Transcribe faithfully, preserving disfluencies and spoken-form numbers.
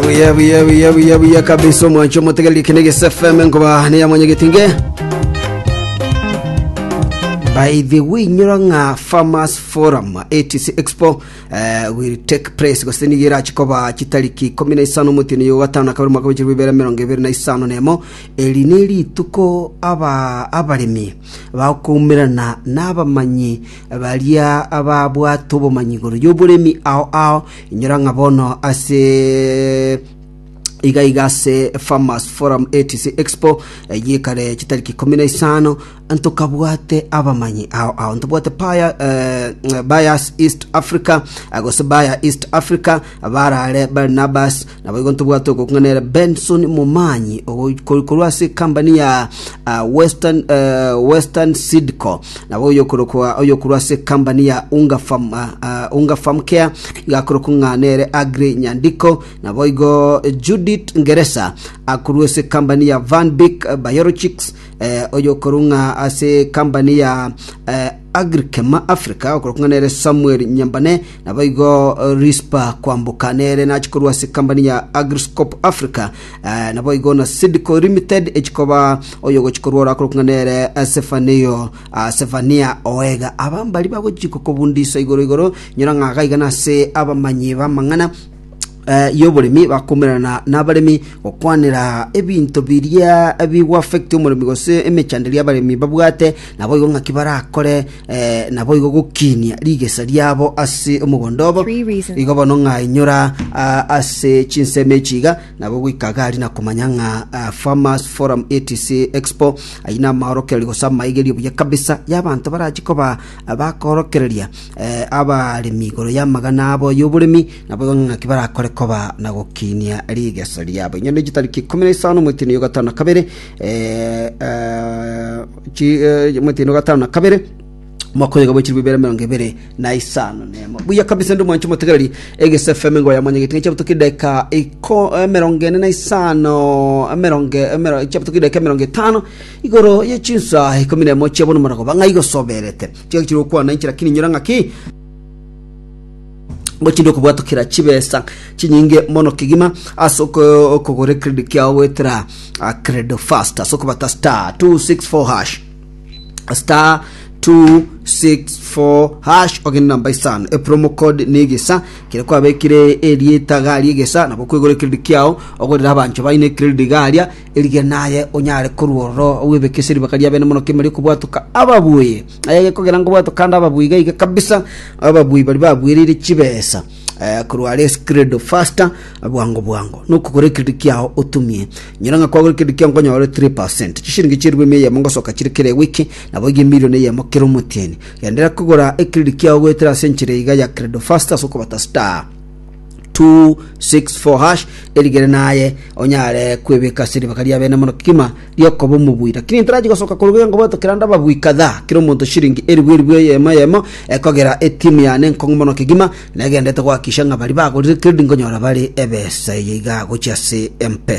Buya, buya, buya, buya, buya kabisa. Omwancho omotegereri, kene Gese F M, nkoba niya mwanyagetinge. By the way, nyora ng'a Farmers Forum A T C Expo uh, will take place, gose nigo erachi koba chitariki ikomi na isano omotini yo gatano na kabere mwaka w'echirwe bibere emerongo ebere na isano nemo. Eri ni rituko aba abaremi bakoumerana n'abamanyi baria ababwate obomanyi igoro y'oboremi ao ao. Inyora ng'a bono ase iga iga ase Farmers Forum A T C Expo yekare chitariki ikomi na isano, ntokabwate abamanyi ao ao. Ntobwate paya eh, Bias East Africa, eh, gose Baya East Africa barare Barnabas. Nabo igo ntobwate okokung'anera Benson Momanyi korwa ase company ya uh, Western uh, Western Seedco. Nabo oyo korokwa oyo korwa ase company ya Unga Farm, uh, uh, Unga Farm Care igakorokwa ng'a nere Agri Nyandiko. Nabo igo Judith Ngeresa akorwa ase company ya Van Bik Biologics, eh, oyo korwa ase company ya eh, Agrikema Africa okorokwa nere Samuel Nyambane. Nabo igo Rispa Kwamboka nere nachikorwa ase company ya Agriscope Africa, eh, nabo igo na Sidco Limited echikoba oyo gochikorwa orakorokwa nere Sefanio uh, Sefania Oega. Abambari bagochika kobundisa igoro igoro. Nyora ng'a iga nase abamanyi b'amang'ana eh, y'oboremi bakomerana n'abaremi gokwanera ebinto biria bigwa affect omoremi gose emechanderi abaremi babwate. Nabo igo ng'aki barakore, eh, nabo igo gokinia rigesa riabo ase omogondo obo. Three reasons. Igo bono ng'a inyora ah, ase chinsemo echiga nabo goika gari na komanya ng'a ah, Farmers Forum A T C Expo ayio na amaorokererio gose amaigerio buya kabisa y'abanto barachi koba ah, bakorokereria eh, abaremi igoro y'amagana abo y'oboremi. Nabo igo ng'aki barakore koba na gokinia rigesa riabo. Inyoni chitariki ikomi na isano omwetini yo gatano na kabere, eh, eh, chi, eh, omwetini wa gatano na kabere mwaka oyo bwechiri bibere mirongo ibere na isano nemo. Buya kabisa, ndi mwancho motegereri Egese F M, ngo ya mwanyageti chabuto kideka iko emerongo ene na isano, emerongo emero chabuto kideka emerongo etano igoro ye chinsa ikomi na emo chiabono marago bang'ai gosoberete chiga chiri gokwana inchi. Lakini nyora ng'aki gochinde okobwatokera chibesa chinyinge mono kegima ase oko- okogora credit kiao gwetera uh, Credo Fast ase okobata star two six four hash, star two six four hash, ogende namba isano, epromo code ni Egesa. Kere kwabekire erieta gari Egesa, nabo kwegora credit kiao ogorera abancho baine credit garia erige naye onyare korwororo webeke ase ribaka ria bene mono kemeri okobwatoka ababuye aye gekogera ngobwatoka ande ababuyi gaiga kabisa. Ababuyi bari babwirire chibesa eh, korwa are Credo Faster bwango bwango nokogora credit kiao otumie. Nyora ng'a kwagora credit kiao nkonyore three percent chishiringi chirwe emia eyemo ngosoka chire kere wiki, nabo iga emilion eyemo kere omotieni. Gendera kogora ecredit kiao goetera ase enchera iga ya Credo Faster ase okobata star two six four hash, erigere naye onyare kwebeka ase ribaka ria bene mono kima riokoba omobui. Lakini ntarachi gosoka koruga ngo bwatokera ande ababui kadhaa, kera omonto shiringi eribu eribu eyemo eyemo, ekogera etimu yane nkong'u mono kegima negendete goakisha ng'a bari bagorire credit nkonyora bari ebesa eye iga gochia ase Mpesa.